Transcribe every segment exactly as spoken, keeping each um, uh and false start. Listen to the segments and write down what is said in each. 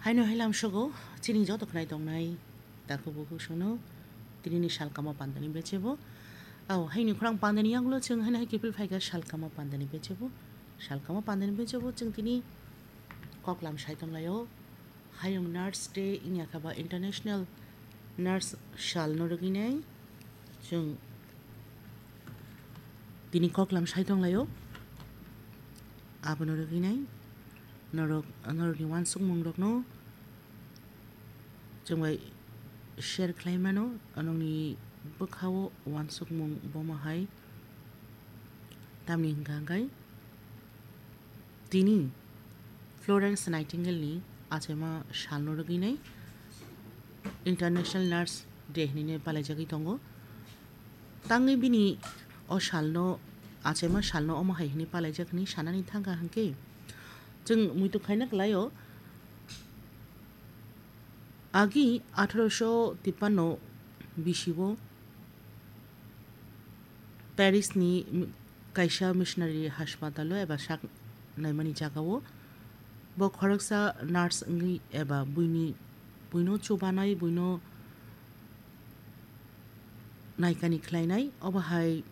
Haino hai lamsogo chini joto khnai tongnai takhuk bukhuk sono tinini salkama pandani bechebo. Au, haini khorang pandani yagulo chwng haino hai kiphil phaikha salkama pandani bechebo. Salkama pandani bechebo chwng tini koklam sai tonglaio. Hayung Nurse Day wngya kha ba International Nurse Salno rwgwinai chwng tini koklam sai tonglaio. Abono rwgwinai norok, norokni uansukmungrokno chwng bai share khlai mano, nokni bwkhao uansukmung bomo hai tamni hwnkha hwnkhe tini Florence Nightingale-ni achaima salno rwgwinai International Nurse Day hinwi palaijagwi tongo. Tangwi bini o salno, achaima salno omo hai hinwi palaijak hinwi sanani thangkha hwnkhe, chwng muitu khaina kwlaio. Agi atharo sho tippanno bisio Paris-ni kaisa missionary haspatalo eba sak naimani jagao bo khoroksa nurse wngwi eba buini, buino chubanai, buino naikani khlainai, obo hai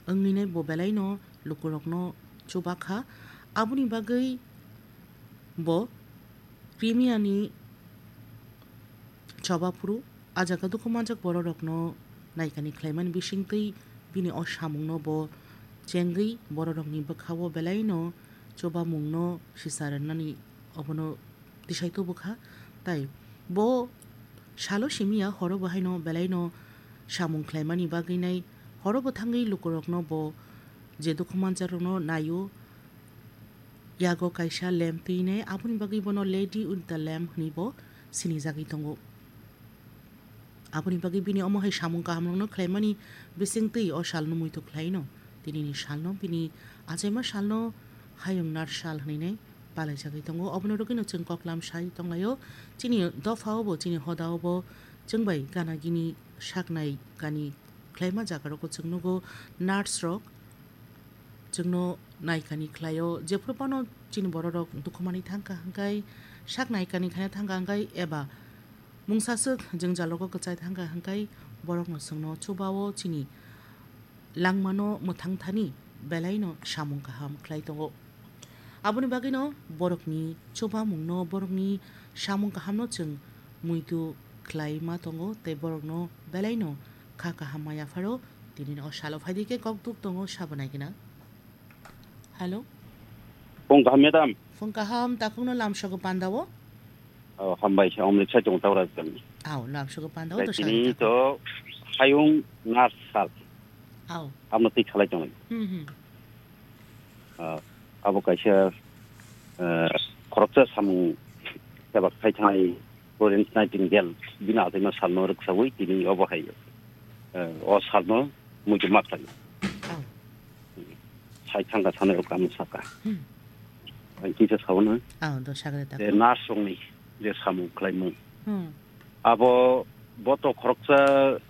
wngninai bo belaino lukurokno chubakha. Aboni bagwi bo Crimea-ni choba phuru, a jaga dukhu manjak bororokno naikani khlaimani bisingtwi bini o samungno bo chengwi bororokni bwkhao belaino chubamungno sisa rwnani obono tisai tubukha. Tai bo salo simiya horo bo haino belaino samung khlaimani bagwinai horo bo thangwi lukurokno bo je dukhu manjakrokno naio, yago kaisa lamp twinai, aboni bagwi bono Lady with the Lamp hwnwi bo sinijagwi tongo. Aboni bagwi bini omo hai samung kahamrokno khlaimani bisingtwi o salno muitu khlaino. Tinini salno bini achaima salno Hayung Nurse Sal hwnwi nai palaijagwi tongo. Obono rwgwino chwng koklam sai tonglaio. Chini dophao bo, chini hodao bo chwng bai gana gini saknai kani khlaima jagarokbo chwng nugo. Nurse rok chwngno naikani khlaio, jephuru phano chini bororok dukhumani thangkha hwnkhe sak naikani khaina thangkha hwnkhe eba mungsaswk jwngjalogo kwchai thangkha hwnkhe borokno chwngno chubao chini langmano mwthang thani belaino samung kaham khlai tongo. Aboni bagwino borokni chubamungno, borokni samung kahamno chwng muitu khlai ma tongo tei borokno belaino kha kaham ma yapharo. Tinini o salo phaidi khe kok duk tongo sabo nai gina. Hello. Phung kaham, madam. Phung kaham, takhukno lamsogo pandao? Oh, hambai, omrisa chong tawra jani. Ao, lamsogo pandao. Tini to Hayung Nurse Sal. Ao. Amo twi khalai tongo. Hmm, hmm. Ah, abo kaisa, eh, khoroksa samung kebak khai thanai Florence Nightingale bini achaima salno rwksawi tini obo hai, eh, o salno muitu ma khlai. Ao. Sai thangka sanai rok kamo saka. Hmm. Ang kisa sauna. Ao, do sagre ta. Eh, nurse rokni je samung khlaimung. Hmm. Abo bo to khoroksa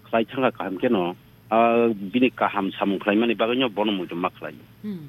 khlai thangka kaham keno, ah, bini kaham samung khlaimani bagwino bono muitu ma khlai. Hmm.